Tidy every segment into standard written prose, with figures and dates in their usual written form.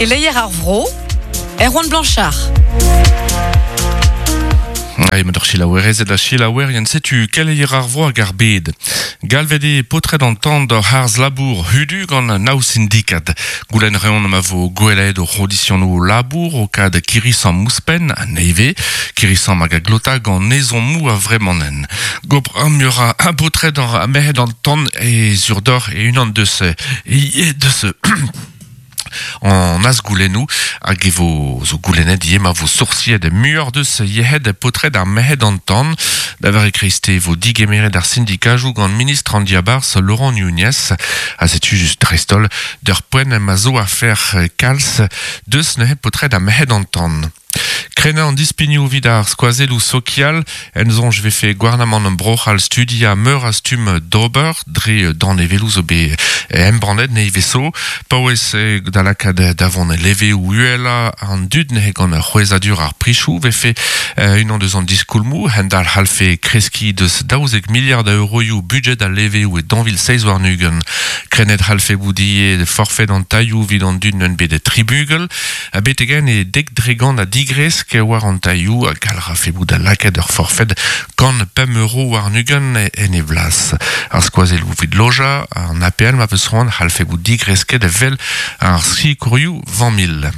Keleier ar vro, Erwan Blanchard. Emañ d'ar selaouerezed ha selaouerien setu keleier ar vro hag ar bed. Galvet eo paotred an tan d'ur harz-labour hudu gant nav sindikad. Goulenn reont ma vo gwellaet o c'hondisionoù labour o kad kirri-samm ouzhpenn ha nevez. Kirri-samm hag a glota gant ezhommoù a-vremañ. Gopr a ra baotred ar merc'hed an tan e zurdoc'h e-unan deus deus an azgoulennoù hag e vo zo goulennet ivez ma vo soursiet muioc'h deus yec'hed paotred ar merc'hed an tan. Da vare kreiste e vo digemeret ar sindikajoù gant ministr an diabarzh Laurent Nunez. Ha setu just dreist-holl d'ur poent ma zo afer kalz deus neuze paotred ar merc'hed an tan. Krennañ an dispignoù evit ar skoazelloù sokial en soñj vefe gouarnamant Bro-C'hall studiañ meur a stumm d'ober dre danevelloù zo bet embannet nevez zo. Paouez da lakaat da vont leveoù uhelañ an dud neuze gant c'hwezhadur ar prichoù vefe unan deus an diskoulmoù. Hent-all c'hallfe kreskiñ deus 12 miliard a euroioù budjed al leveoù e 2027. Krennet c'hallfe bout ivez forfed an tailhoù evit an dud neunt bet tri bugel. Betek-henn eo 10% a digresk war an tailhoù ha gall rafe bout da lakaat ur forfed 105 euro warn-ugent en e blas. Ar skoazelloù evit lojañ, an APL ma peus c'hoant c'hallfe bout digresket evel ar sikourioù familh.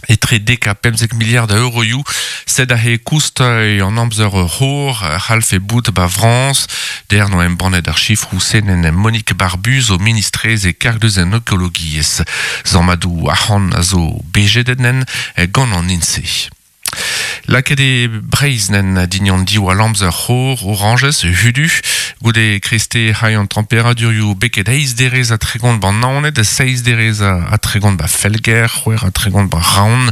Etre 10 ha 15 miliard a euroioù, sed aze koust an amzer c'hor c'hallfe bout ba Frañs. Der no embannet ar chifroù senen Monique Barbuz zo ministrez e karg deus an ekologiezh. Zammadoù arc'hant a zo bejedenen gant an INSEE. Lakaet eo Breizh nen dindan diwall amzer c'hor orañjez hudu goude kreste c'hai an temperadurioù beket 38 ban Naoned, 7 derez ha 30 ba Felger, 36 ba Raon,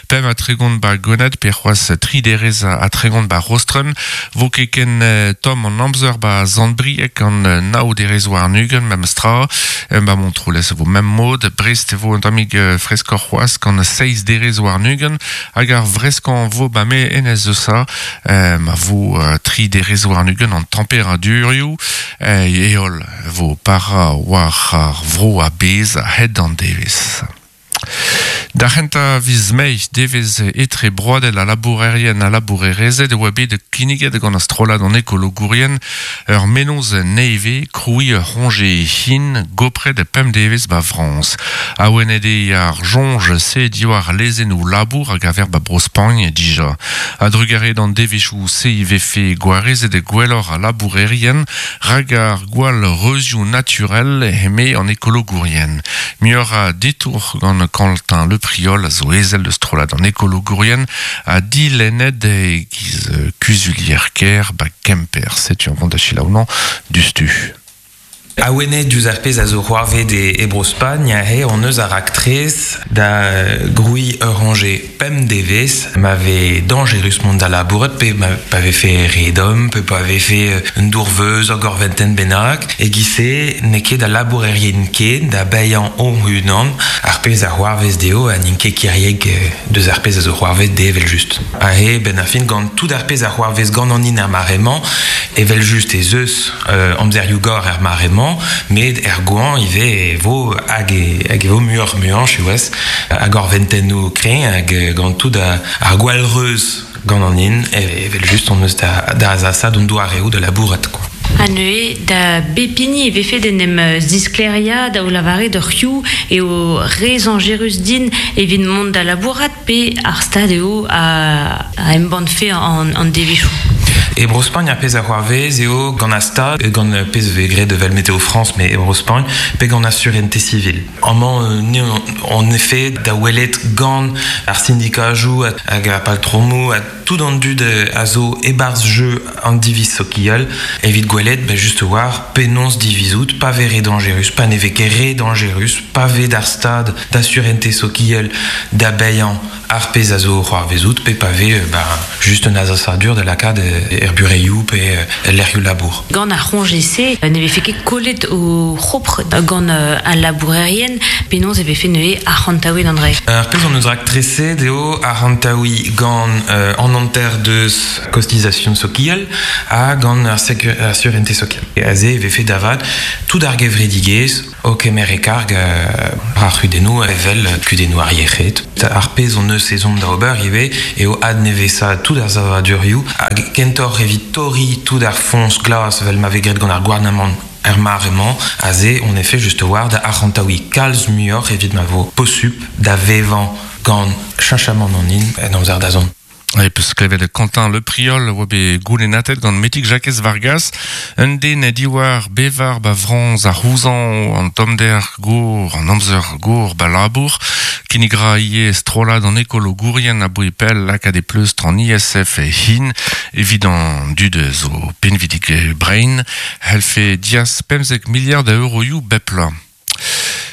35 ba Gwened pe c'hoazh 33 ba Rostren, vo ket ken tomm an amzer ba Sant-Brieg an 29 memes tra, ba Montroulez vo mem mod, Brest vo un tammig freskoc'h c'hoazh gant 27 hag ar vreskañ vo ba me enez Eusa ma vo 23 an temperadurioù heol vo para war ar vro a-bezh a-hed an devezh. Da c'hentañ viz Mae devezh etre broadel a labourerien a labourerezed e oa bet kinniget gant ar strollad an ekologourien ur mennozh nevez krouiñ ur c'hoñje hin gopret 5 devezh ba Frañs. Awenet eo ar soñj se diwar lezennoù labour hag aver ba Bro-Spagn dija. A drugarez d'an devezhioù se vefe gwarezet gwelloc'h a labourerien rak ar gwall reuzioù naturel eme an ekologourien. Muioc'h a ditour gant Quentin Le Priol a zo ezel deus strollad an ekologourien ha dilennet e giz kuzulier kêr ba Kemper. Setu an vont da selaou diouzhtu. Awenet diouzh ar pezh a zo c'hoarvet e Bro-Spagn he hon eus ar raktres da grouiñ ur c'hoñje 5 devezh ma vez dañjerus mont da labourat pe ma pa vefe re domm pe pa vefe un dourveuz ur gorventenn bennak e giz-se n'eo ket da labourerien ken da baeañ o-unan ar pezh a c'hoarvez dezho ha n'int ket kiriek deus ar pezh a zo c'hoarvet dezhe evel-just. Ha he ben ar fin gant tout ar pezh a c'hoarvez gant an hin ar mare-mañ evel-just ez eus amzerioù gor er mare-mañ met er goañv ivez e vo hag e, hag e vo muioc'h muiañ siwazh hag gorventennoù kreñv hag gant tout ar gwallreuz gant an hin evel-just hon eus da, da azasaat hon doareoù da labourat quoi. Ha neuze da bep hini e vefe d'en em zisklêriañ da o lavaret ur c'hioù eo re zañjerus din evit mont da labourat pe ar stad eo a embann-fe an devezhioù. E Bro-Spagn ar pezh a c'hoarvez eo gant ar stad gant pezh vez graet evel Météo France met e Bro-Spagn pe gant ar Sûreté civile. Amañ ni en effet da welet gant ar sindikajoù hag ar patromoù ha tout an dud a zo e-barzh jeu an diviz sokial evit gwelet ben just war penaos divizout pa vez re dañjerus pa ne vez ket re dañjerus pa vez d'ar stad da sûreté sokial da baeañ ar pezh a zo c'hoarvezout pe pa vez ben, just un azasadur da lakaat er bureioù pe lec'hioù labour. Gant ar c'hoñje-se ne vefe ket kollet o c'hopr gant al labourerien penaos e vefe neuze arc'hantaouet an dra. Ar pezh hon eus raktreset eo arc'hantaouiñ gant an hanter deus cotisation sokial ha gant ar sûreté sokial. Aze e vefe da vat tout ar gevredigezh o kemer e karg ar c'hudennoù evel kudennoù ar yec'hed. Ar pezh on eus ezhomm da ober ivez eo adnevesaat tout ar savadurioù hag kentoc'h evit torriñ tout ar foñs glas evel ma vez graet gant ar gouarnamant er mare-mañ aze on efe just war da arc'hantaouiñ kalz muioc'h evit ma vo posupl da vevañ gant cheñchamant an hin en amzer da zont. E peus klevet Quentin Le Priol oa bet goulennatet gant Metig Jakez Vargas, un den diwar bevar ba Frañs a c'houzañv an tommder gour, an amzer gour ba labour, kinnig ra ivez strollad an ekologourien aboe pell lakaat e pleustr an ISF e hin evit an dud zo pinvidik brein, c'hellfe diaz 15 miliard a euroioù bep bloaz.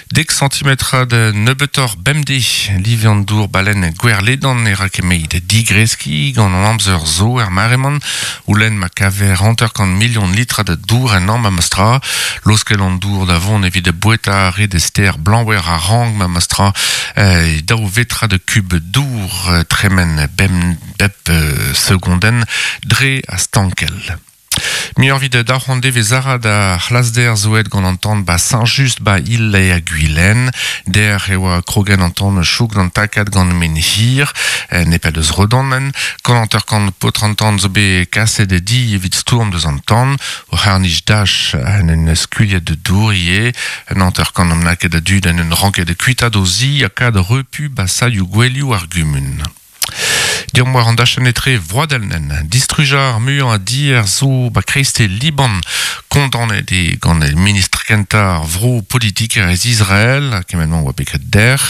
Dek santimetrad nebeutoc'h bemdez live an dour balen gwerledan e ra ket digreskiñ gant an amzer zo er mare-man oulenn ma kaver 50 million litrad dour en am memes-tra laoskel an dour da vont evit boueta re de ster blanwer a rang memes-tra daou vetrad kub dour tremen bem bep segondenn dre a stankel. Muioc'h evit daou devez ara da c'hlasder zoet gant an tan ba Saint-Just ba il e Gwilen. Der e oa krogen an tan chouk d'an takad gant men hir, nepel deus redanen. Gant an kant potr an tan zo bet kaset e di evit stourm deus an tan. O c'harnij dach en un skuilhet de dour ie. Un hanter kant am laket a dud en un ranket de kuitad o zi a kad repu ba salioù gwelioù ar gumun. Diom war an dachenn etre vroadelnen, distrujañ ar muiañ a dier zo ba kreiste Liban, kondaonet eo gant e ministr kentañ ar vro politikerezh Israel, kement-mañ oa bet graet der,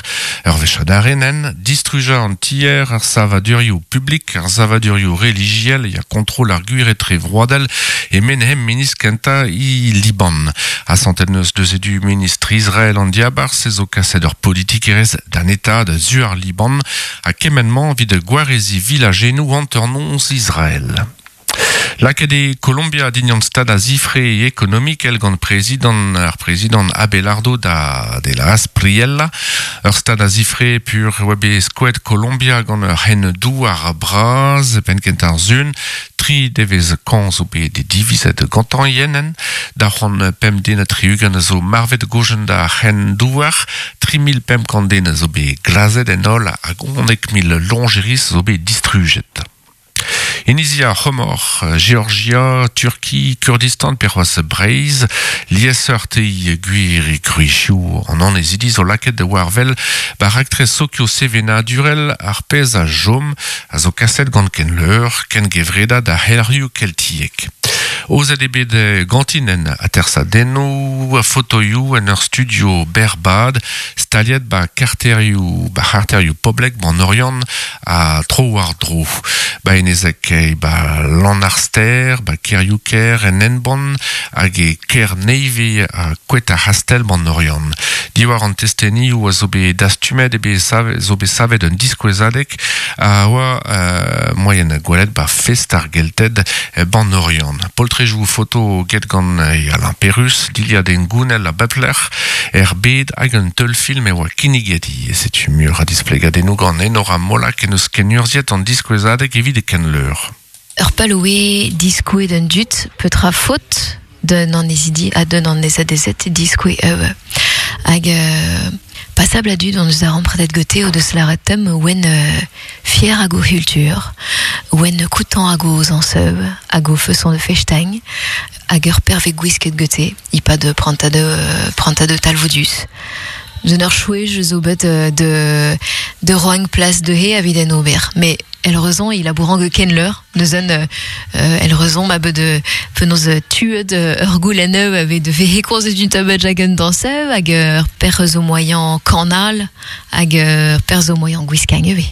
ur wech adarenen, distrujañ an tier, ar savadurioù publik, ar savadurioù relijiel, ya kontrol ar gwir etre vroadel e menhem ministr kentañ i Liban. Asantet neus deus edu ministr Israel an diabarzh zo kaset ur politikerezh d'an eta da zu ar Liban, ha kement-mañ evit gwarezi vilajennoù hanternoz Israel. Lakaet eo Colombia dignan stad a zifre ekonomikel gant prezidant ar prezidant Abelardo da de la Aspriella. Ur stad a zifre pur oa bet skoet Colombia gant ur c'hen douar bras penn kentañ ar sun, tri devez kañv zo bet divizet gantañ yenen, da c'hoant pemp den ha tri-ugent a zo marvet gojen da c'hen douar, 3500 den a zo bet glazet en holl hag 11 000 loñjeris zo bet distrujet. Inizia C'homor, Georgia, Turki, Kurdistan pe c'hoazh Breizh, liesseurt eo gwir e gwrizioù an annezidi zo lakaet da war-wel ba raktres sokio-sevenadurel ar pezh a chom a zo kaset gant Kenleur, kengevredad ar c'helc'hioù keltiek. Aozet eo bet gantinen atersadennoù, fotoioù en ur studio berrbad, staliet ba karterioù ba c'harterioù poblek ban Oriant ha tro-war-dro. Ba Enezeg ba Lannarstêr, ba Kerioù-Ker en Henbont hag e Kerneive ha Koet ar C'hastell ban Oriant. Diwar an testenioù a zo bet dastumet e bet savet, zo bet savet un diskouezadeg a oa moaien gwelet ba fest ar Gelted ban Oriant. Poltrejoù foto get gant Alain Perrus, dilhad hengounel a bep lec'h, er bed hag un teulfilm e oa kinniget ivez. Setu muioc'h a displegadennoù gant Enora Molac en eus kenurzhiet an diskouezadeg evit e Kenleur. Ur pal oe diskouez d'un dud petra faot d'un annezidi ha d'un annezadezed diskouez eu. Hag passabl a dud on eus darempredet gete o deus lâret tem oen fier hag o c'hultur, oen koutant hag o zañseu, hag o feson de festagn, hag ur perve gwisket gete, e-pad prantad talvoudus. D'un ur chouej zo bet de roing plas de he evit en ober. Mais el rezon il labourant ge Kenleur, neuzen el rezon ma bet de penaos tuet ur goulenn avait de vehe komzet d'un tabet jagen danseu hag ur per zo moyen kanal hag ur per zo moyen gwiskang eve.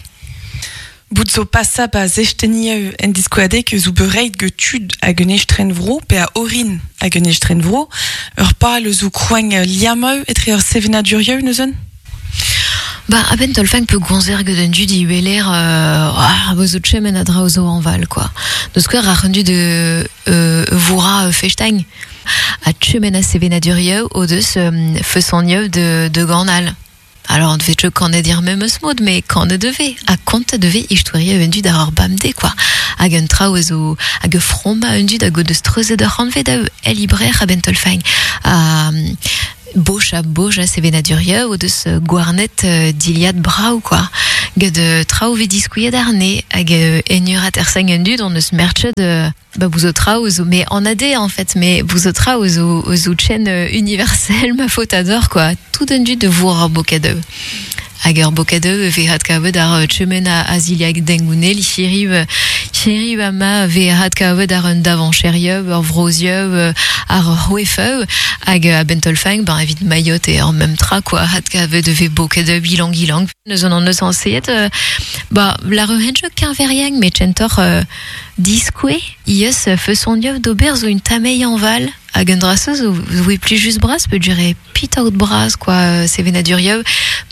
Bout zo pasa pa zestenieu en diskoadeg zo bereit ge tud hag un estren vro pe a orin hag un estren vro ur pal zo kroagn liameu etre ur sevenadurieu neuzen? Ba, a-benn tolfang pe gonzer gant un dud i weler ah, zo chemen a dra zo anval, quoi. Deus skouer ar un dud voura festagn. A chemen a sevenadurieu o deus feusanieu de ganal. Alors on devait kanet dir memes mod, mais kanet deve, ha kontet deve istoria un dud ar ur bamde, quoi. Hag un traoù zo, hag fromma un dud hag o deus treuzet ur c'hantved a el ibrer a bentolfang. Ha boch a boch a sevenaduria o deus gwarnet diliad brau, quoi. Gant traoù ve diskuiet arne, hag enur aterseng un dud on eus merchet ba bouzo traoù zo, mais en AD en fait, mais bouzo traoù zo, zo chen universel ma faute ador, quoi. Tout un dud de voir ar bokadeu. Hag ur bokadeu ve hat kavet ar chemen a aziliag dengounel, chiriv ama ve hat kavet ar un davancherieu, ur vrozieu, ar c'hwefeu, hag a bentolfang, ben evit Mayotte e ur mem tra, quoi, hat kavet ve bokadeu bilang ilang. Neus an eus anseet, ba, la rehenjo keñveriang, met chentor diskoe, ies feusonioù d'ober zo un tamei en val, hag un draseuz zo zo plus just bras, peut durer pit out bras, quoi, sevenadurioù,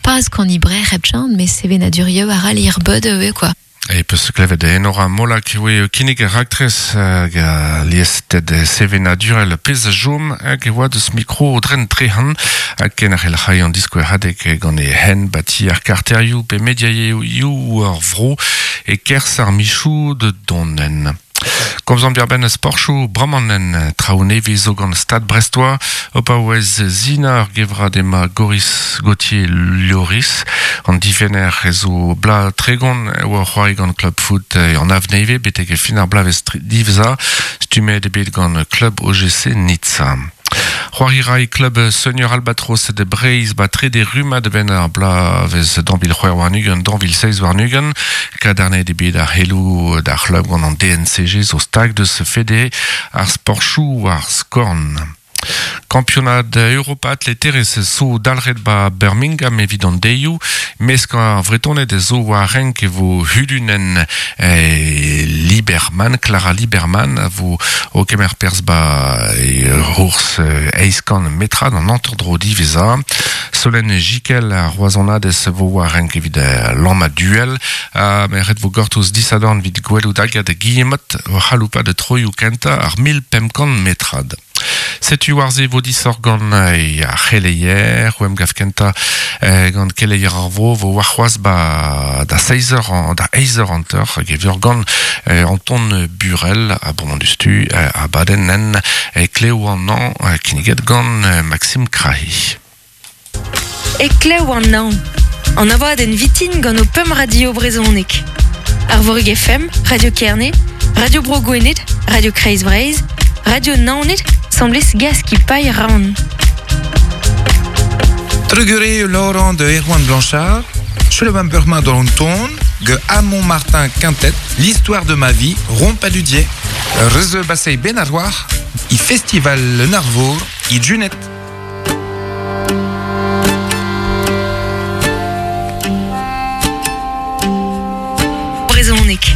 pas kan ibrer hepchan, mais sevenadurioù ar al ir bod, quoi. E peus klevet enora molak oe kinnig raktres hag a liested sevenadurel pez a jom hag e oa deus mikro dren trehan hag ken ar el c'hai an disko hadek gant e hen bati ar karterioù pe mediaioù ar vro e kers ar michou de donen. Komzan ben sporchou bramanen traoù nevez zo gant Stade Brestois opa oez zina ar gevra dema Goris Gauthier Lloris an difenner ezo bla tregon oa c'hoari gant Club Foot an avneve betek e fin ar blavez divza stumet ebet gant Club OGC Nizza. C'hoari rai Club Senior Albatros de Breiz ba trede rumad ben ar blavez danvil c'hwer warnugen, danvil seiz warnugen, kadarnet ebet ar helou d'ar c'hlub gant an DNCG zo stag deus fede ar sporchou ar skorn. Kampionad Europat le terez zo dalret ba Birmingham evit an deioù, mesk ar vretonet zo war renk e vo hudunen Liberman, Clara Liberman, a vo o kemer perz ba e rours eizkan metrad an antordro diveza. Solen Jikel a roazonadez vo war renk evit lamma duel, a meret vo gortoz disadorn evit gwelout agad Guillemot o c'haloupa de troioù kenta ar mil pemkant metrad. Setu war ze vo disor gant ar c'heleier, oem gav kenta gant keleier ar vo, vo war c'hoaz ba da 6h, da 8h anter, hag e veur gant Anton Burel, a bon dustu, a baden nen, kleo an an, kinniget gant Maxime Krahi. E kleo an an, an abadenn vitin gant o pemp radio brezonek. Arvorig FM, Radio Kerne, Radio Bro Gwened, Radio Kreiz Breizh, Radio Naoned, semblez gaz ki paille ran. Trugure Laurent de Erwan Blanchard, Chulevan Burma dans ton, ge Amon Martin Quintet, L'histoire de ma vie, Rompaludier, Reze Bassey Benaroir, i Festival Le Narvour, i Junet. Brezonek.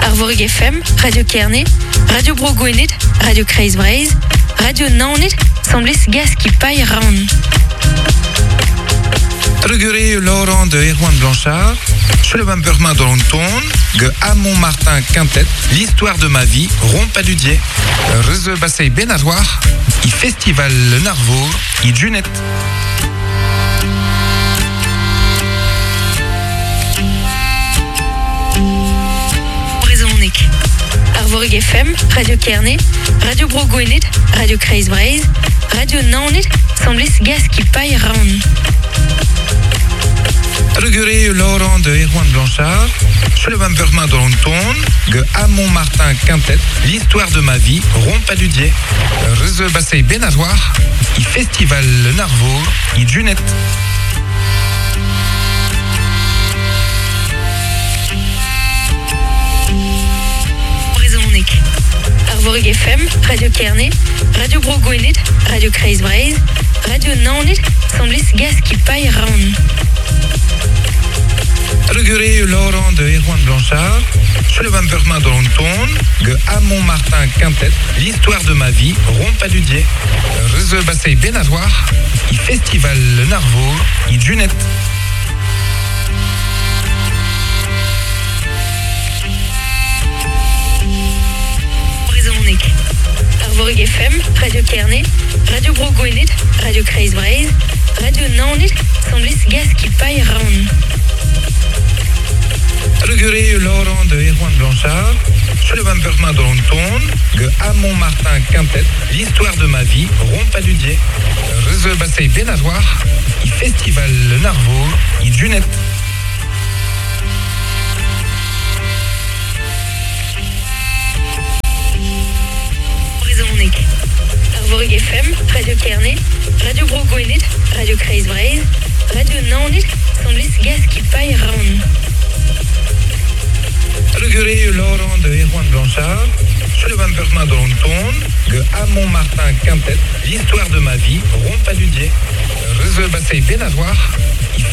Arvorig FM, Radio Kerne, Radio Bro Gwened, Radio Kreiz Breizh, Radio Naoned, semblez gaz ki paille ran. Trugure Laurent de Erwan Blanchard, Chulevan Burma dans ton, ge Amon Martin Quintet, L'histoire de ma vie, Rompaludier, Reze Bassey Benaroir, i Festival Le Narvour, i Junet. Brezonek. Arvorig FM, Radio Kerne, Radio Bro Gwened, Radio Kreiz Breizh, Radio Naoned, semblez gaz ki paille ran. Trugure Laurent de Erwan Blanchard, Chulevan Burma dans ton, ge Amon Martin Quintet, L'histoire de ma vie, Rompaludier, Reze Bassey Benaroir, i Festival Le Narvour, i Junet. Brezonek. Arvorig FM, Radio Kerne, Radio Bro Gwened, Radio Kreiz Breizh, Radio Naoned, semblez gaz ki paille ran. Trugure Laurent de Erwan Blanchard, Chulevan Burma dans ton, ge Amon Martin Quintet, L'histoire de ma vie, Rompaludier, Reze Bassey Benaroir, i Festival Le Narvour, i Junet. Brezonek. Arvorig FM, Radio Kerne, Radio Bro Gwened, Radio Kreiz Breizh, Radio Naoned, semblez gaz ki Hamon Martin Quintet, L'histoire de ma vie, Rompaludier, Reze Bassey Benazoir, i Festival Le Narvo, i Junet. Brezhoneg. Arvorig FM, Radio Kerne, Radio Bro Gwened, Radio Kreiz Breizh, Radio Naoned, Sant-Lys Gaskipailh Rann. Reguré Laurent de Erwan Blanchard, Sullivan Permin de Ton, de Hamon Martin Quintet, L'histoire de ma vie, Rompaludier, Reze Bassey Benazoir, i